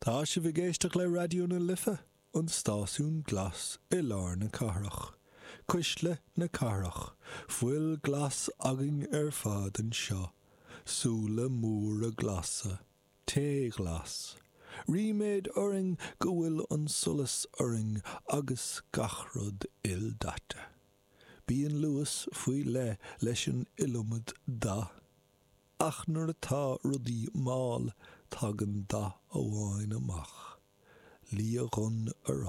Tá sibh ag éisteacht le Raidió na Life, an stáisiún glas i lár na cathrach. Cuisle na cathrach. Fuil glas againn ar fad anseo. Súile móra glasa. Tae glas. Ríméad orainn go bhfuil an solas orainn agus gach rud ildaite. Bíonn luas faoi leith leis an iliomad dath. Ach nuair atá rudaí mall, tagann dath amháin amach. Liathdhonn oráiste.